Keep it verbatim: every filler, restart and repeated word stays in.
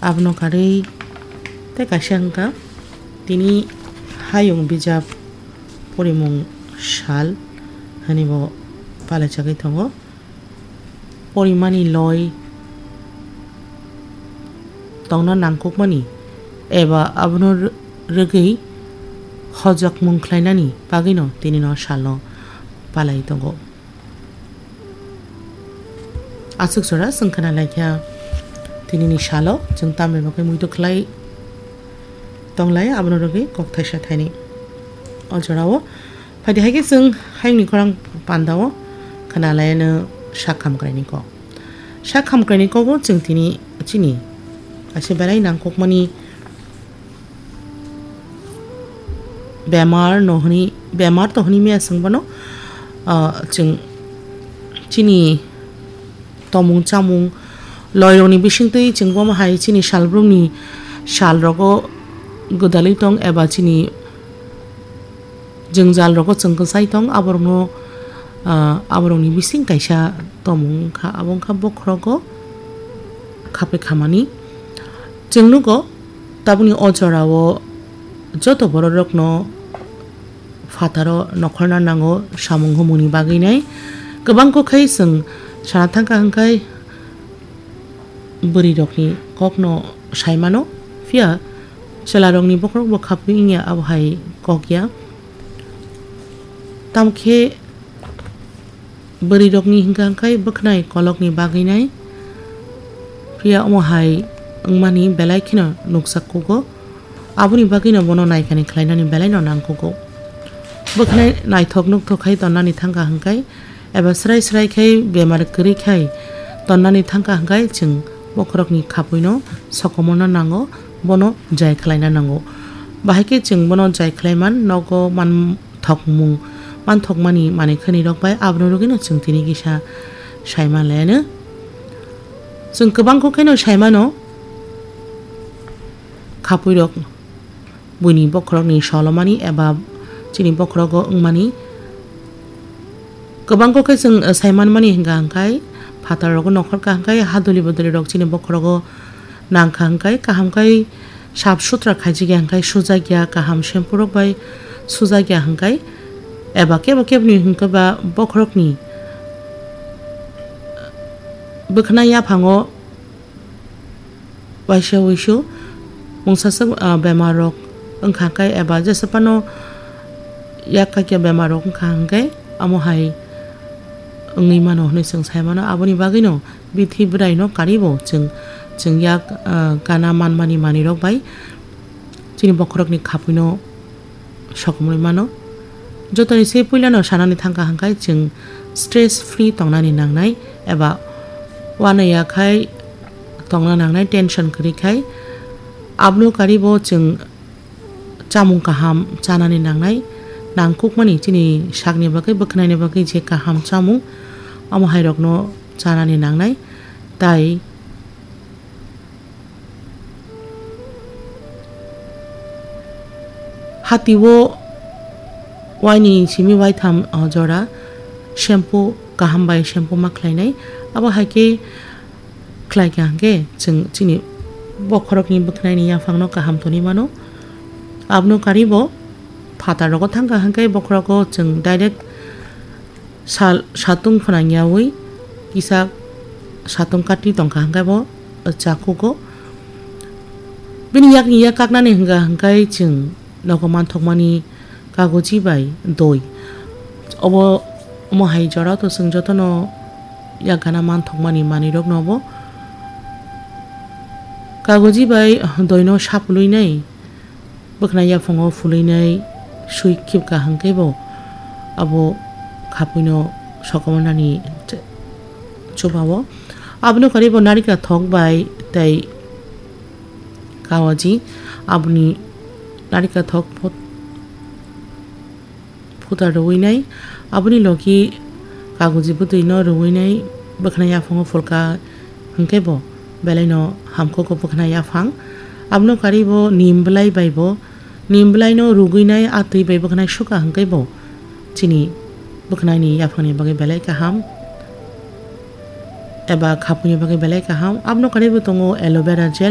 Abono karwi tei kaisa wngkha tini hayung bijap porimung sal hwnwi bo palaijagwi tongo. Porimani loi tongna nangkukmani eba abono rw-, rwgwi hojakmung khlainani bagwino tini no salno palai tongo. Aswk jora chwng khna laikha, tinini salo chwng tamni bagwi muitu khlai tonglai, abono rwgwi kok thaisa thaini. O jorao phaidi hai khe chwng hayungni khorang pandao khna laiano sak hamkraini kok. Sak hamkraini kogo chwng tini chini kaisa belai nangkukmani bemar no hwnwi, bemar to hwnwi maya chwng bono, ah, chwng chini tomung chamung loirokni bisingtwi chwng bomo hai chini salbrumni salrogo gwdalwi tong eba chini jwngjal rogo chwng kwchai tong, aborokno, ah, aborokni bising kaisa tomung wngkha, abo wngkha bokhorogo khapwi khamani. Chwng nugo, tabukni o jorao joto bororokno phataro nokhorna nango samung humungni bagwi nai. Kwbang kok khai chwng sana thangkha hwnkhe bwrwirokni kokno saimano, phiya chwlarokni bokhorokbo khapwi wngya abo hai kok ya. Tamokhe bwrwirokni hwnkha hwnkhe bwkhnai kolokni bagwi nai, phiya omo hai wngmani belai kheno nukjak kugo. Aboni bagwino bono naikani khlainani belaino nangkugo. Bwkhnai naithok nukthok khai tonnani thangkha hwnkhe, eba srai srai khai bemar kwrwi khai tonnani thangkha hwnkhe, chwng bokhorokni khapwino sokomorna nango, bono jai khlaina nango. Bahai khe chwng bono jai khlaiman nogo manthokmung, manthokmani manwi khwnirok bai abono rwgwino chwng tini kisa saima laiano. Chwng kwbang kok kheno saimano, khapwirok buini bokhorokni solomani eba chini bokhorogo wngmani. Kwbang kok khe chwng, eh, saimanmani hwnkha hwnkhe, phatarrogo nokhorkha hwnkhe, haduli bodolirok chini bokhorogo nangkha hwnkhe, kaham khe sap sutra khaijak ya hwnkhe, sujak ya, kaham shampoo rok bai sujak ya hwnkhe, eba kebo keboni hwnkhe ba bokhorokni bwkhwnai yaphango waisa wuisu mungsaswk, ah, bemar rok wngkha khe eba jesa phano yak kakya bemar rok wngkha hwnkhe amo hai wngwi mano hwnwi chwng sai mano. Aboni bagwino bithi bwraino karibo chwng, chwng yak, ah, gana manmani manwi rok bai chini bokhorokni khapwino sokomorwi mano. Jotoni se puilano sanani thangkha hwnkhe chwng stress free tongnani nangnai eba uanaiya khai tongna nangnai, tension kwrwi khai. Aboni karibo chwng chamung kaham chanani nangnai, nangkukmani chini sakni bagwi, bwkhwnaini bagwi je kaham chamung, omo hairokno chanani nangnai. Tai Hati o waini simi waitham, o, jora shampoo kaham bai shampoo ma khlainai. Abo hai khe khlai kha hwnkhe chwng chini bokhorokni bwkhwnaini yaphangno kaham tongwi mano. Abono karibo phatar rogo thangkha hwnkhe bokhorogo chwng direct Sal, satung phnangyawi kisa satung kati tongkha hwnkhe bo chakugo. Bini yakni yak kaknani hwnkha hwnkhe chwng nogo manthokmani kagoji bai doi. Obo, omo hai jora to chwng jotono yak gana manthokmani manwirokno bo kagoji bai doino sapului nai. Bwkhwnai yaphango phulwinai swi khibkha hwnkhe bo abo khapwino sokomornani ch-, chubao. Abono karwi bo narikra thok bai tei kawaji aboni narikra thok phut-, phuta rwinai, aboni logi kagoji bwtwino rwinai bwkhwnai yaphango phulkha hwnkhe bo belaino hamkhugo bwkhwnai yaphang. Abono karwi bo nim bwlai bai bo, nim bwlaino rwgwinai a twi bai bwkhwnai sukha hwnkhe bo chini bwkhwnaini yaphangni bagwi belai kaham eba khapwini bagwi belai kaham. Abono karwi bo tongo aloe vera gel.